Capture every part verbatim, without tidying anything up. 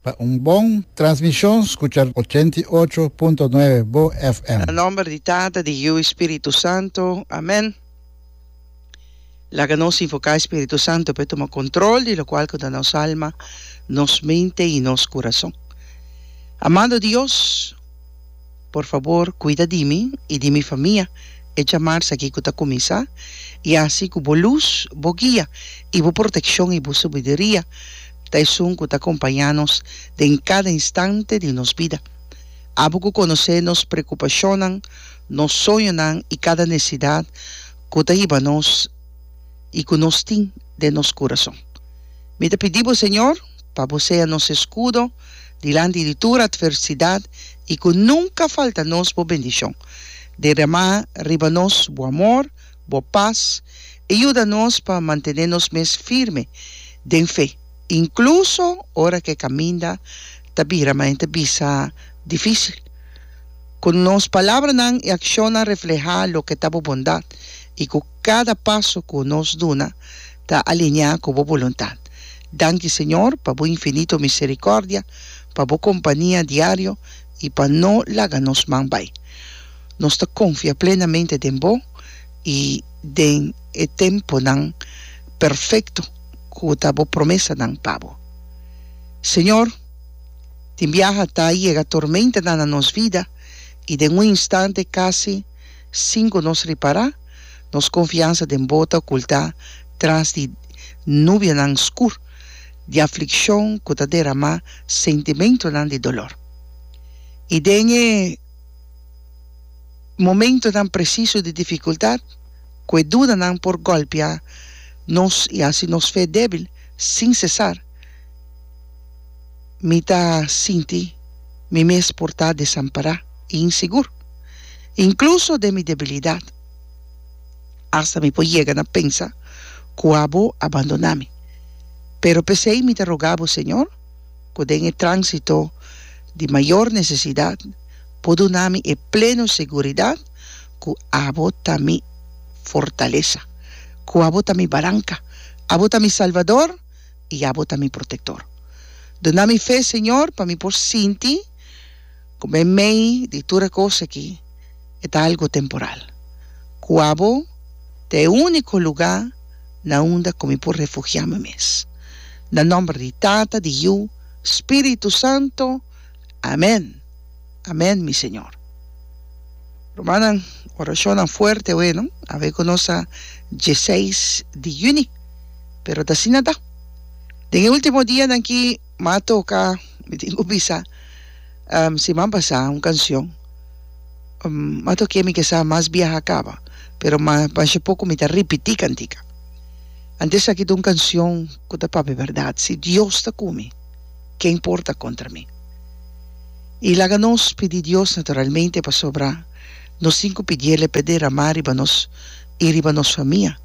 Pa un bon transmishon skucha ochenta i ocho punto nuebe Bo F M. Na nomber di Tata, di Yu i Spiritu Santu. Amen. Laga nos invoká e Spiritu Santu pa e tuma kontrol di lokual ku ta nos alma, nos mente i nos kurason. Amado Dios, por fabor kuida di mi i di mi famia e djamars aki ku ta kuminsá i hasi ku bo lus, bo guia i bo protekshon i bo sabiduria ta esun ku ta kompañá nos den kada instante di nos bida. Abo ku konosé nos preokupashonnan, nos soñonan i kada nesesidat ku ta hiba nos i ku nos tin den nos kurason. Mi ta pidi bo, Señor, pa bo sea nos eskudo dilanti di tur atversidat i ku nunka falta nos bo bendishon. Derramá riba nos bo amor, bo pas i yuda nos pa mantené nos mes firme den fe, inkluso ora ku e kaminda ta bira manera ta bisa difísil. Ku nos palabranan i akshonnan reflehá loke ta bo bondat i ku kada paso ku nos duna ta alineá ku bo boluntat. Danki, Señor, pa bo infinito miserikòrdia, pa bo kompania diario i pa no laga nos man bai. Nos ta konfia plenamente den bo i den e tempunan perfekto ku ta bo promesanan pa bo. Señor, tin biaha ta yega tormentanan na nos vida i den un instante, kasi sin ku nos ripará, nos konfiansa den bo ta okultá tras di nubianan skur di aflikshon ku ta deramá sentimentonan di dolor. I den e momentonan presiso di difikultat, ku e dudanan por golpia nos i hasi nos fe débil sin sesar, mi ta sinti mi mes por ta desampará i insigur, inkluso den mi debilidat. Asta mi por yega na pensa ku abo a bandoná mi. Pero p'esei mi ta roga bo, Señor, ku den e tránsito di mayor nesesidat por duna mi e pleno seguridat ku abo ta mi fortalesa, ku abo ta mi baranka, abo ta mi salbador i abo ta mi protektor. Duna mi fe, Señor, pa mi por sinti ku meimei di tur e kos aki e ta algu temporal, ku abo ta e úniko lugá na unda ku mi por refugiá mi mes. Na nòmber di Tata, di Yu, Spiritu Santu. Amèn. Amèn, mi Señor. Rumannan, orashonnan fuerte awe, no? Awe ku nos ta diesseis di yüni, pero ta asina ta. Den e último dianan aki m'a toka, mi tin ku bisa, siman pasá un kanshon. M'a tok'é mi ke sa mas biaha kaba, pero masha poko mi ta ripití kantika. Anto esaki ta un kanshon ku ta papia bèrdat, si Dios ta ku mi, ken por ta kontra mi? I laga nos pidi Dios naturalmente pasobra nos tin ku pidiel p'e deramá riba nos i riba nos famia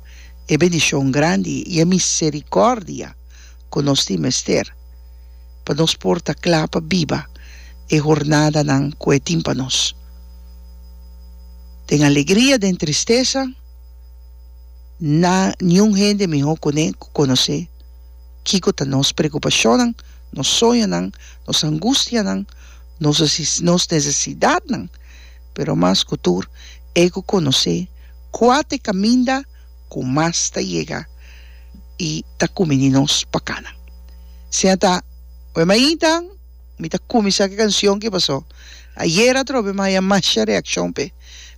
e bendishon grandi i e miserikòrdia ku nos tin mester pa nos por ta kla pa biba e hornadanan ku e tin pa nos. Den alegria, den tristesa, na niun hende mihó kuné ku konosé kiko ta nos preokupashonnan, nos soñonan, nos angustianan, nos nos nesesidatnan, pero mas ku tur e ku konosé kua ta e kaminda ku mas ta yega i ta kumini nos pa kana. Sea ta oe mainta mi ta kuminsá ku e kanshon ki pasó ayera atrobe mi a haña masha reakshon p'e.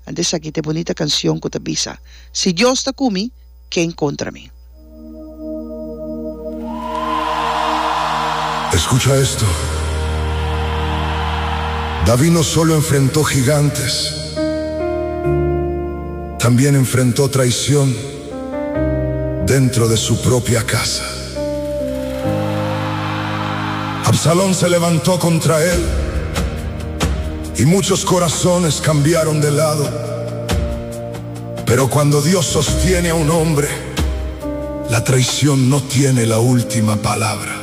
Anto esaki ta e bunita kanshon ku ta bisa, Si Dios ta ku mi, ken kontra mi? Escucha esto. David no solo enfrentó gigantes, también enfrentó traición dentro de su propia casa. Absalón se levantó contra él y muchos corazones cambiaron de lado. Pero cuando Dios sostiene a un hombre, la traición no tiene la última palabra.